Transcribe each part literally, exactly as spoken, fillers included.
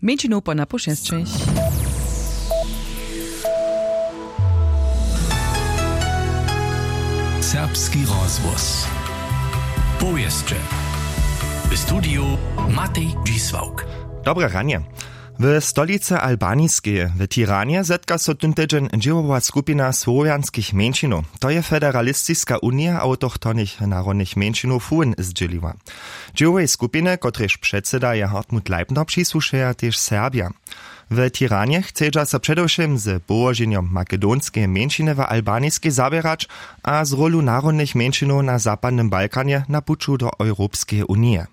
Mjeńšinow po napoł šesćich. Serbski rozhłos. Powěsće. W studiju Matej Dźisławk. Dobre ranje. W stolicy Albaniskej, w Tiranje, zetka so tón tydźeń dźěłowa skupina słowjanskich mjeńšinow. To je Federalistiska unija awtochtonych narodnych mjeńšinow fuhn zdźěliła. Dźěłowej skupiny, kotrež předsyda je Hartmut Leibner, přisłušeja tež Serbja. W Tiranje chcedźa so předewšěm z połoženjom makedonskeje mjeńšiny w Albaniskej zaběrać a z rólu narodnych mjeńšinow na zapadnym Balkanje na puću do Europskeje unije.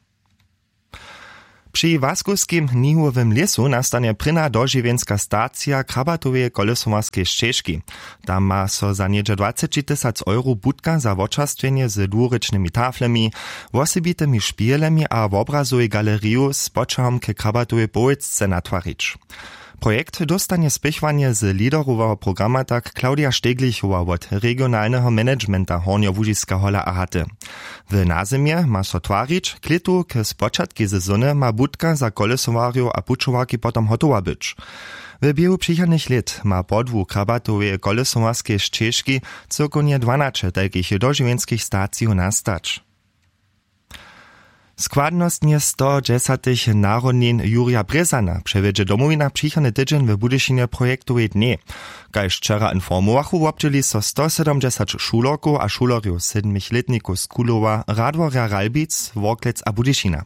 Při Łaskowskim nihowym lěsu nastanje prěna dožiwjenska stacija Krabatoweje kolesowarskeje šćežki. Tam ma so za něhdźe dwaceći tysac euro budka za wočerstwjenje z dwurěčnymi taflemi, wosebitymi špihelemi a wobrazowej galeriju z poćahom k Krabatowej powětce natwarić. Projekt dóstanje spěchowanje z leaderoweho programa tak Claudia Steglichowa wot regionalneho managementa Hornjołužiska Hola a Haty. W nazymje ma so twarić, k lětu k spočatkej sezony ma budka za kolesowarjow a pućowarki potom hotowa być. W běhu přichodnych lět ma podłu Krabatoweje kolesowarskeje šćežki cyłkownje dwanaće tajkich dožiwjenskich stacijow nastać. Składnostnje stodźesatych narodnin Jurja Brězana přewjedźe Domowina přichodny tydźeń w Budyšinje projektowej dnjej. Kaž wčera informowachu, wobdźěli so stosydomdźesat šulerkow a šulerjow sydmich lětnikow z Kulowa, Radworja, Ralbic, Worklec a Budyšina.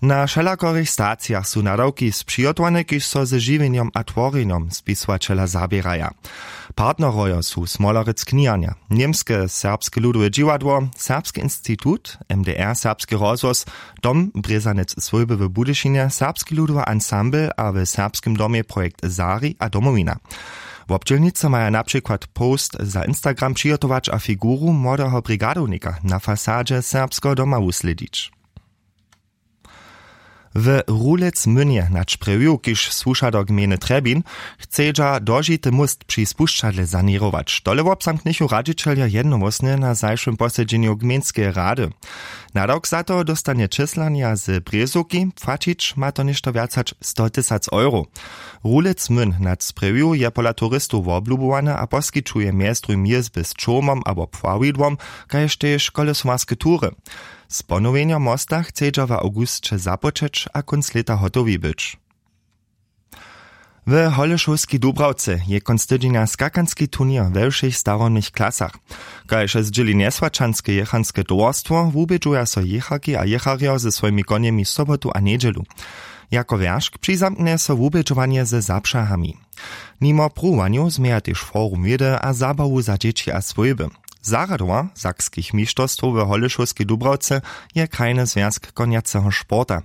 Na wšelakorych stacijach su nadawki spřihotowane, kiž so ze žiwjenjom a tworjenjom spisowaćela zaběraja. Partnerojo su Smolerec kniharnja, Němske serbske ludowe dźiwadło, Serbski institut, M D R, Serbski rozhłos, Dom Brězanec swójby w Budyšinje, Serbski ludowy ansambl a w Serbskim domje projekt Zari a Domowina. Wobdźělnicy maja na přikład post za Instagram přihotować a figuru młodeho brigadownika na fasadźe Serbskeho doma wuslědić. W Rulec-Mynje na Čprjewju, kiž słuša do gmejny Trjebin, chcedźa dožity móst při spušćadle saněrować. Tole wobzamknychu radźićeljo jednohłosnje na zašłym posedźenju gmejnskeje rady. Nadawk za to dóstanje čěslanja z Brězowki, płaćić ma to něšto wjac hač sto tysac euro. Rulec-Myn na Čprjewju je pola turistow woblubowany a poskićuje mjez druhim jězby z čołmom abo pławidłom, kaž tež kolesowarske tury. Z ponowjenjom mosta chcedźa w awgusće započeć a kónc lěta hotowi być. W Holešowskej Dubrawce je kónc tydźenja skakanski turněr we wšěch starobnych klasach. Kaž zdźěli Njesłaćanske jěchanske towarstwo, wubědźuja so jěcharki a jěcharjo ze swojimi konjemi sobotu a njedźelu. Jako wjeršk přizamknje so wubědźowanje ze zapřahami. Nimo pruwowanjow změja tež forum wědy a zabawu za dźěći a swójby. Zarjadowar sakskich mišterstwow w Holešowskej Dubrawce je krajny zwjazk konjaceho sporta.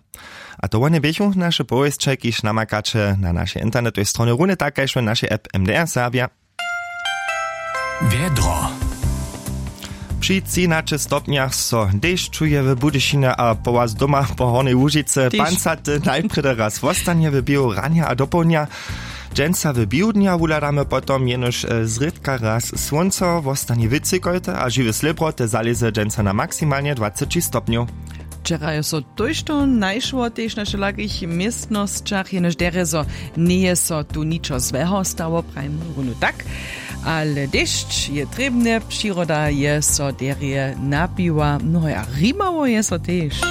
A to wone běchu naše powěsće, kiž namakaće na našej internetowej stronje, runje tak kaž w našej app M D R Serbja. Wjedro. Při třinaće stopnjach so dešćuje w Budyšinje a po was doma po Hornjej Łužicy. Tež. Pancaty najprjedy raz wostanje w běhu ranja a dopołdnja. Dźensa w běhu dnja wuhladamy potom jenož, e, zrědka raz słónco, wostanje wětřikojte a žiwe slěbroty zalěze dźensa na maksimalnje dwaceći stopnjow. Wčera je so tójšto najšło tež na wšelakich městnosćach, jenož derje zo njeje so tu ničo złeho stało, prajimy runje tak. Ale dešć je trěbny, přiroda je so derje napiła, no a rimało je so tež.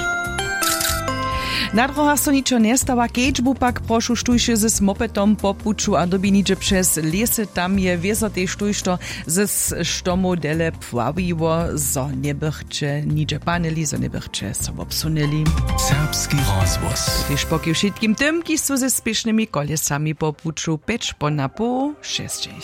Na dróhach so ničo njestawa, kedźbu pak prošu, štóž je z mopetom po puću a dyrbi nihdźe přez lěsy, tam je wězo tež tójšto z štomow dele pławiło, zo njebychće nihdźe panili, zo njebychće so wobsunyli. Serbski rozhłos. Tež poki wšitkim tym, kiž su ze spěšnymi kolesami po puću, pjeć po napoł šesćich.